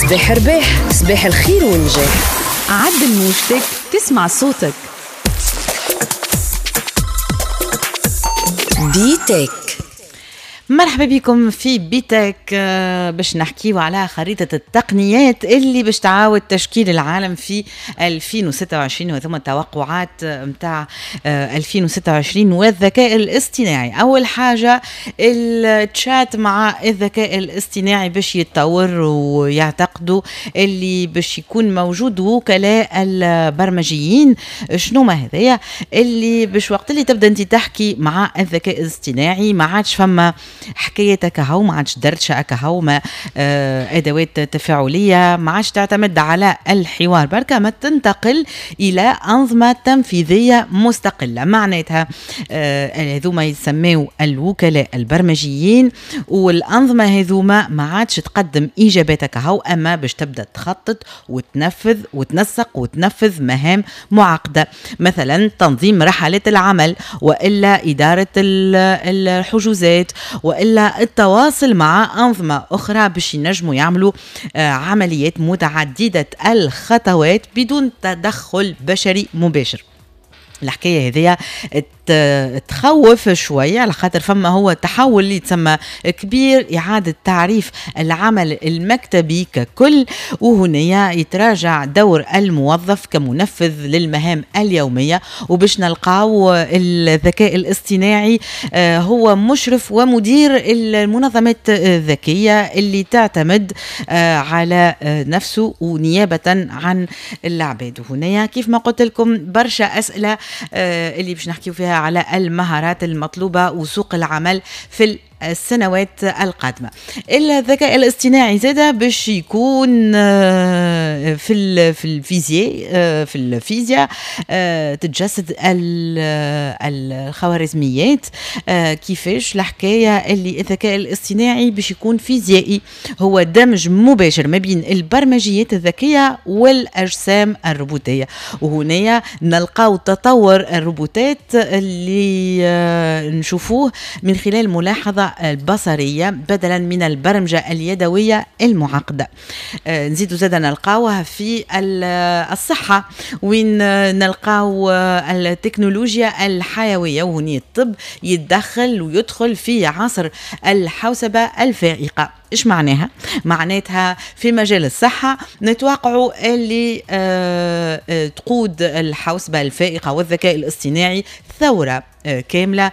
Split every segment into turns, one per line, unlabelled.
صباح رباح، صباح الخير والنجاح.
عدل موجتك تسمع صوتك.
بيتك.
مرحبا بكم في بيتك، باش نحكيو على خريطة التقنيات اللي باش تعاود تشكيل العالم في 2026، وثم التوقعات متاع 2026 والذكاء الاصطناعي. أول حاجة التشات مع الذكاء الاصطناعي باش يتطور، ويعتقدوا اللي باش يكون موجود وكلاء البرمجيين. شنو ما هذايا اللي باش وقت اللي تبدا انت تحكي مع الذكاء الاصطناعي ما عادش فما حكايتك هاو، ما عادش دردشة هاو، ما ادوات تفاعلية، ما عادش تعتمد على الحوار بركة، ما تنتقل الى انظمة تنفيذية مستقلة. معناتها هذوما يسميو الوكلاء البرمجيين، والانظمة هذوما ما عادش تقدم اجاباتك هاو، اما باش تبدا تخطط وتنفذ وتنسق وتنفذ مهام معقدة، مثلا تنظيم رحلات العمل، والا ادارة الحجوزات، والا التواصل مع انظمة اخرى باش ينجموا يعملوا عمليات متعددة الخطوات بدون تدخل بشري مباشر. الحكاية هذيا تخوف شوية، على خاطر فما هو تحول اللي يتسمى كبير، اعاده تعريف العمل المكتبي ككل، وهنا يتراجع دور الموظف كمنفذ للمهام اليومية، وباش نلقاو الذكاء الاصطناعي هو مشرف ومدير المنظمات الذكية اللي تعتمد على نفسه ونيابه عن العباد. وهنا كيف ما قلت لكم برشا اسئلة اللي باش نحكيو فيها على المهارات المطلوبة وسوق العمل في السنوات القادمة. الذكاء الاصطناعي زادة باش يكون في الفيزياء، في الفيزياء تتجسد الخوارزميات. كيفاش الحكاية اللي الذكاء الاصطناعي باش يكون فيزيائي، هو دمج مباشر ما بين البرمجيات الذكية والأجسام الروبوتية. وهنا نلقاو تطور الروبوتات اللي نشوفوه من خلال ملاحظة البصرية بدلا من البرمجة اليدوية المعقدة. نزيد زاد نلقاوها في الصحة، وين نلقاو التكنولوجيا الحيوية، وهني الطب يتدخل ويدخل في عصر الحوسبة الفائقة. إيش معناها؟ معناتها في مجال الصحة نتوقعوا اللي تقود الحوسبة الفائقة والذكاء الاصطناعي ثورة كاملة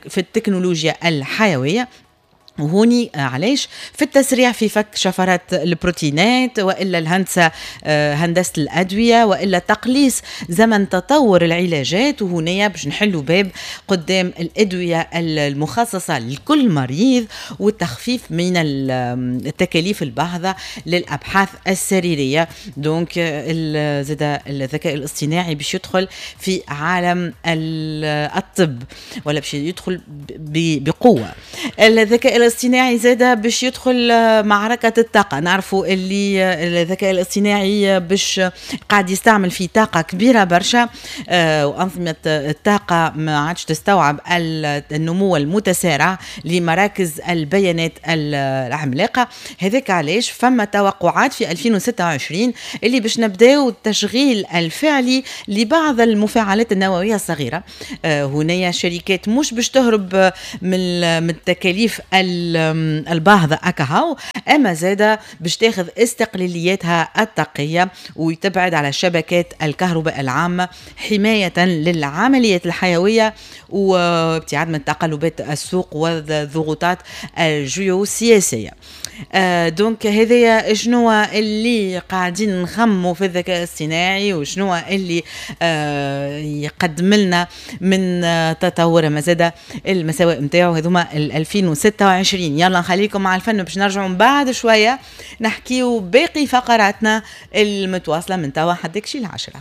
في التكنولوجيا الحيوية. وهوني علاش في التسريع في فك شفرات البروتينات، والا الهندسة، هندسة الادوية، والا تقليص زمن تطور العلاجات. وهنا باش نحلوا باب قدام الادوية المخصصة لكل مريض، والتخفيف من التكاليف الباهظه للابحاث السريرية. donc زاد الذكاء الاصطناعي باش يدخل في عالم الطب، ولا باش يدخل بقوة. الذكاء الاصطناعي زادة باش يدخل معركة الطاقة. نعرفوا اللي الذكاء الاصطناعي باش قاعد يستعمل في طاقة كبيرة برشا، وأنظمة الطاقة ما عادش تستوعب النمو المتسارع لمراكز البيانات العملاقة. هذاك علاش فما توقعات في 2026 اللي باش نبداو التشغيل الفعلي لبعض المفاعلات النووية الصغيرة. هنا شركات مش باش تهرب من التكاليف الباهظة أكاهو، أما زادة باش تاخذ استقلالياتها الطاقية وتبعد على شبكات الكهرباء العامة حماية للعمليات الحيوية وابتعاد من تقلبات السوق والضغوطات الجيوسياسية. donc هذايا شنو اللي قاعدين نخموا في الذكاء الاصطناعي، وشنو اللي يقدم لنا من تطور، ما زاد المساوئ نتاعو هذوما 2026. يلا نخليكم مع الفن باش نرجعوا من بعد شوية نحكيو باقي فقراتنا المتواصلة من توا حدك شي 10.